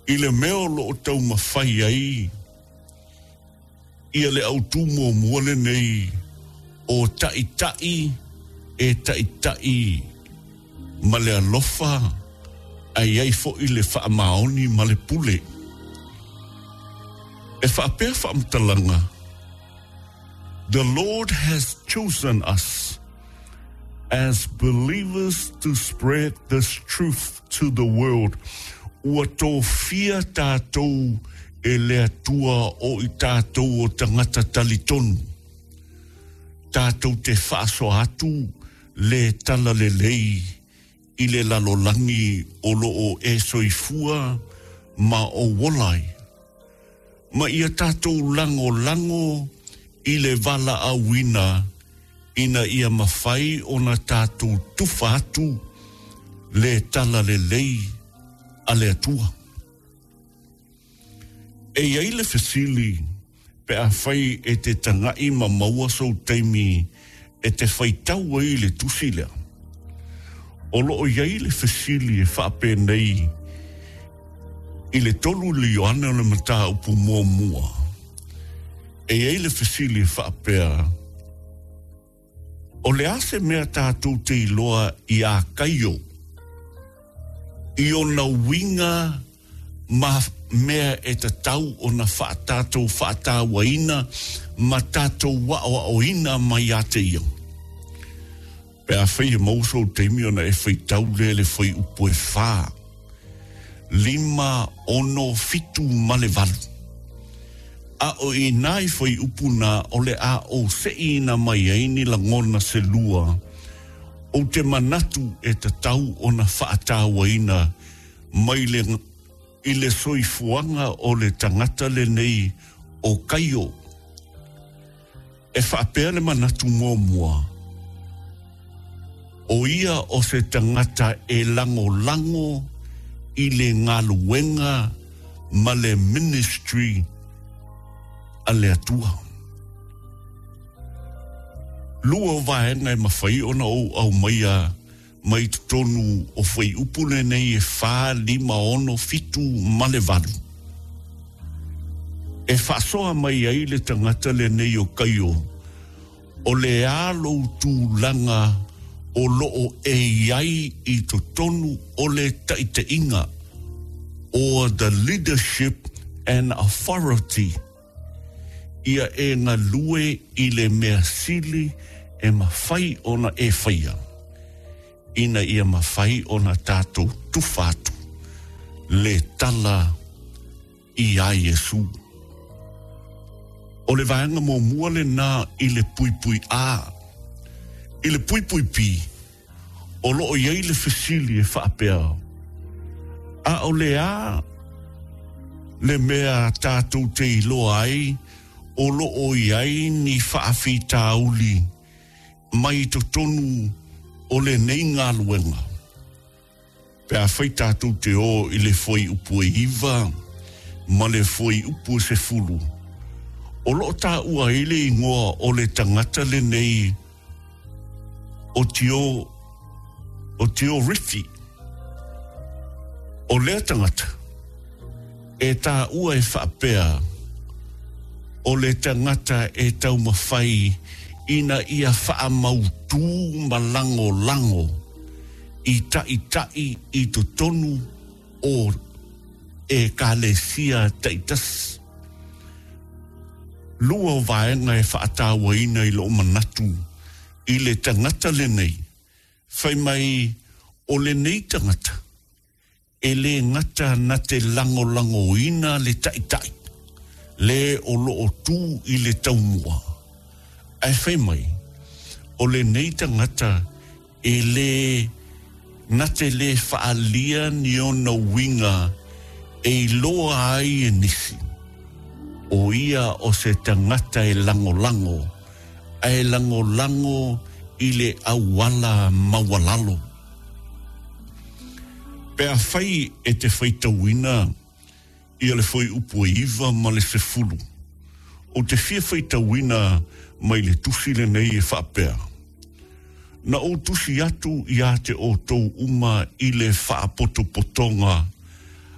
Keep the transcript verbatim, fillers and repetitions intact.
I le mea o loo taumafai ai ia le autū muamua lenei o taʻitaʻi e taʻitaʻi ma le alofa ae ai foʻi le faamaoni ma le pule. E faapea faamatalaga, the Lord has chosen us as believers to spread this truth to the world. Ua tofia tātou e le Atua o i tātou o tagata talitonu. Tātou te faasoa atu le tala lelei i le lalolagi o loo e soifua ma o ola ai. Ma ia tātou lagolago i le valaauina ina ia mafai ona tātou tufa atu le tala lelei a le Atua. E iai le fesili pe afai e te tagai ma maua sou taimi e te faitau ai le tusi lea. O loo iai le fesili e faapenei i le tolu le Ioane o le mataupu muamua. E iai le fesili e faapea, o le a se mea tātou te iloa ia Kaio i ona uiga ma mea e tatau ona faatatou faatauaina ma tatou aoaoina mai ia te ia. Pe afai e maua sou taimi ona e faitau lea le fuaiupu e fa, lima, ono, fitu ma le valu. A o i nai fuaiupu na o le a ou seʻiina mai ai ni lagona se lua, ou te manatu e tatau ona faatauaina mai le i le soifuaga o le tagata lenei o Kaio. E faapea le manatu muamua, o ia o se tagata e lagolago i le galuega ma le ministry a le Atua. Lua o vaega e mafai ona ou aumaia mai totonu o fuaiupu lenei e fa, lima, ono, fitu ma le valu. E faasoa mai ai le tagata lenei o Kaio, o le a lou tulaga o loo e iai i totonu o le taʻitaʻiga, or the leadership and authority, ia e galue i le mea sili e mafai ona e faia, ina ia mafai ona tātou tufa atu le tala ia Iesu. O le vaega muamua lenā i le puipui A. I le puipui B, o loo iai le fesili e faapea, a o le a le mea tātou te iloa ai o loo iai ni faafitauli mai totonu o lenei galuega. Pe afai tātou te o i le fuaiupu e iva ma le fuaiupu e sefulu, o loo taua ai le igoa o le tagata lenei o Tio, o Tio Rifi. O lea tagata e taua e faapea o le tagata e taumafai ina ia faamautū ma lagolago i taʻitaʻi i totonu o ekalesia taitasi. Lua o vaega e faatauaina i loo manatu i le tagata lenei, fai mai o lenei tagata e lē gata na te lagolagoina le taʻitaʻi le o loo tū i le taumua, ae fai mai o lenei tagata e lē na te lē faalia ni ona uiga e iloa ai e nisi, o ia o se tagata e lagolago ae lagolago i le auala maualalo. Pe afai e te faitauina ia le fuaiupu e iva ma le sefulu, o te fia faitauina mai le tusi lenei e faapea, na ou tusi atu ia te outou uma i le faapotopotoga